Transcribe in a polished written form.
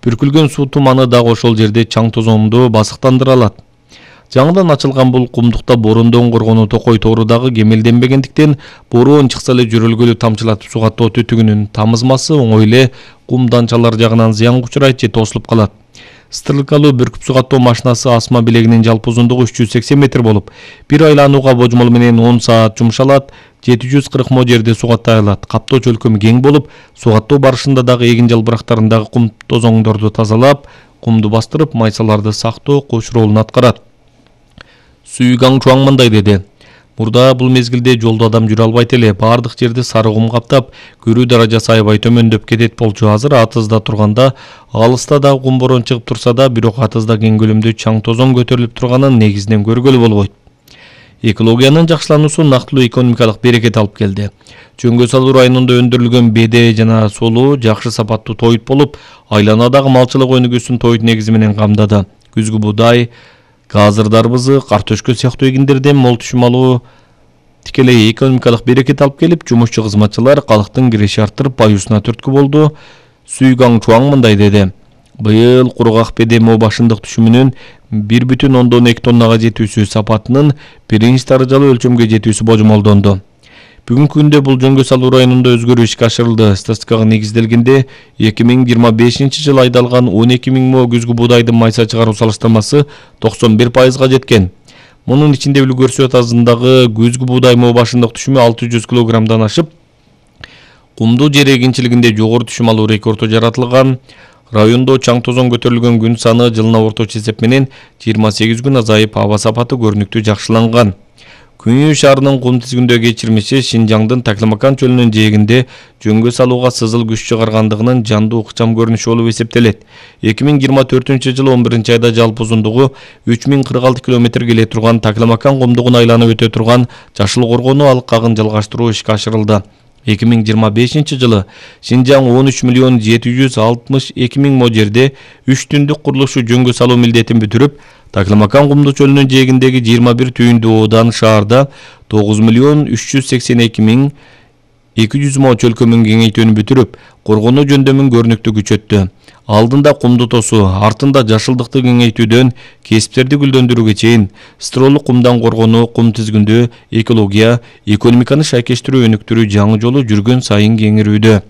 Бүркүлгөн суу туманы дагы ошол жерде чаң тозоңду басыктандыра алат. Жаңыдан ачылган бул кумдукта бороондон коргонуу токой тоору дагы кемелденбегендиктен бороон чыкса эле жөрөлгөлү тамчылатып сугаттоо түтүгүнүн тамызмасы оңой эле кум данчалар жагынан зыянга учурайт же тосулуп калат. Стрелкалуу бүркүп сугаттоо машинасы асма билегинин жалпы узундугу 380 метр болуп, бир айланууга божмол менен 10 саат жумшалат, 740 мо жерде сугаттай алат. Каптоо чөлкөмү кең болуп, сугаттоо барышында дагы эгин жалбырактарындагы кум тозоңдорду тазалап, кумду бастырып, майсаларды сактоо кош ролун аткарат. Сүйгаң Чуаң мындай деди. Мурда бул мезгилде жолдо адам жүрө албайт эле, баардык жерди сары кум каптап, көрүү даражасы аябай төмөндөп кетет болчу. Азыр атызда турганда, алыста да кум борон чыгып турса да, бирок атызда кең көлөмдүү чаң тозоң көтөрүлүп турганын негизинен көргөлү болбойт. Экологиянын жакшылануусу нактылуу экономикалык берекет алып келди. Чөңгө салуу районунда өндүрүлгөн беде жана солуу жакшы сапаттуу тоют болуп, айланадагы малчылык өнүгүүсүн тоют негизи менен камдады. Күзгү буудай, газыр дарбызы, картөшкө сыяктуу эгиндерден мол түшүм алуу тикелей экономикалык берекет алып келип, жумушчу кызматчылар калктын киреше арттырып, баюусуна түрткү болду. Сүйгаң Чуаң мындай деди. Быйыл кургак беде моо башындык түшүмүнүн 1,2 тоннага жетүүсү сапатынын биринчи даражалуу өлчөмгө жетүүсү божомолдонду. Бүгүнкү күндө бул жөнгө салуу районунда өзгөрүү ишке ашырылды. Статистикага негизделгенде 2025 жылы айдалган 12 000 мо күзгү буудайдын майса чыгаруу салыштырмасы 91%га жеткен. Мунун ичинде үлгүрсү атазындагы күзгү буудай моо башындык түшүмү 600 килограммдан ашып, кумдуу жер эгинчилигинде жогору түшүм алуу рекорду жаратылган. Райондо чаң тозоң көтөрүлгөн күн саны жылына орточо эсеп менен 28 күн азайып, аба сапаты көрүнүктүү жакшыланган. Күнү шаарынын кум тизгиндөө кечирмеши Шинжаңдын Таклимакан чөлүнүн жээгинде жөнгө салууга сызыл күч чыгаргандыгынын жандуу ыкчам көрүнүшү болуп эсептелет. 2024 жылы 11 айда жалпы узундугу 3046 км келе турган Таклимакан кумдугун айланып өтө турган Жашыл коргонуу алкагын жалгаштыруу ишке ашырылды. 2025 жылы Шинжаң 13 762 000 мо жерде 3 түндүк курулушу жөнгө салуу милдетин бүтүрүп, Таклимакан кумдуу чөлүнүн жээгиндеги 21 түйүндүү оодан шаарда 9 382 200 мо чөлкөмүн кеңейтүүнү бүтүрүп, коргонуу жөндөмүн көрүнүктүү күчөттү. Алдында кумду тосуу, артында жашылдыкты кеңейтүүдөн кесиптерди гүлдөндүрүүгө чейин строолук кумдан коргонуу, кум тизгиндөө, экология, экономиканы шайкештирүү өнүктүрүү жаңы жолу жүргөн сайын кеңирүүдө.